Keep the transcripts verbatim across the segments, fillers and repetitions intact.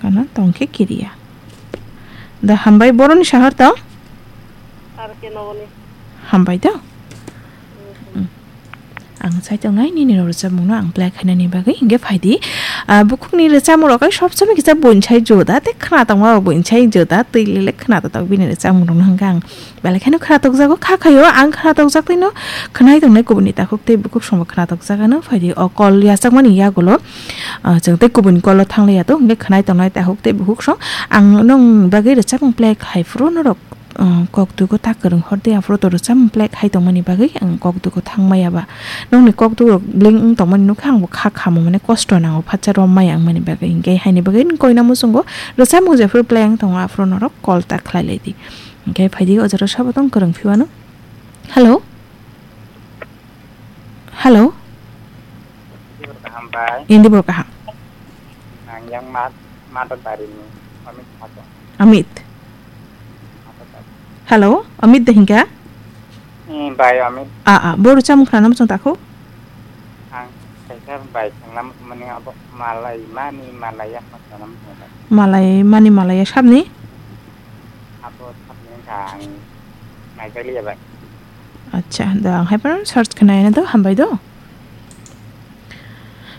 Kana tongkhe kiriya. Da hambai boroni sahar tong? Ar ke nogoni. Hambai da? Mm. Ang sai tongnai nini rw rwchapmungno ang play khainani bagwi hingke phaidi. Ah, bukhukni rwchapmung rok ai sob somoi kisa buinsai joda, tei khna tongma rok buinsai joda, twi lele khna totok bini rwchapmung rokno hingke ang belai kheno khna tokjago, kha khaio ang khna tokjak tei no khnai tongnai kubuni takhuk tei bukhuk songbo khna tokjak ano phaidi o call yachakmani yagulo, ah, chwng tei kubuni call o thanglaiya to, hingke khnai tongnai takhuk tei bukhuk song ang nong bagwi rwchapmung play khai phuru norok. Ah, kok dugo ta kwrwng hor de, aphuru to rwchapmung play khai tongmani bagwi ang kok dugo thangmaya ba. Nokni kok dugo bling wng tongmani nukha, ang bo kha khamo mane kosto nango, phatsa rom maya wngmani bagwi. Hinkhe haini bagwi nini koina muchungo rwchapmung jephuru play wng tongo, aphuru norok call ta khlai lai di. Hinkhe phaidi o jora sabo tong kwrwng phiwano. Hello? Hello? Kaham bai. Indi bo kaham. Nang yang mat, mat dari ni. Amit mat. Amit. Mat dari. Hello, Amit de hingka? Hmm, bai Amit. Ah, ah, boru chamung khana muchung takho? Ang kaisa bai khana mani abo malai mani malai ya khana muchung. Malai mani malai ya sabni? Abo sabni ka ang nai kali ya bai. Acha, da ang hai pano search khana ina do, hambai do.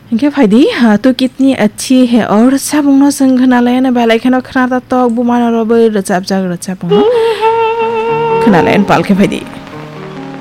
Hinkhe phaidi, ha, tu kitni achi he or sabungno chwng khna lai na belai kheno khna ta tok bumano robo rwchapjak rwchapung. Khna lai pal khe phaidi.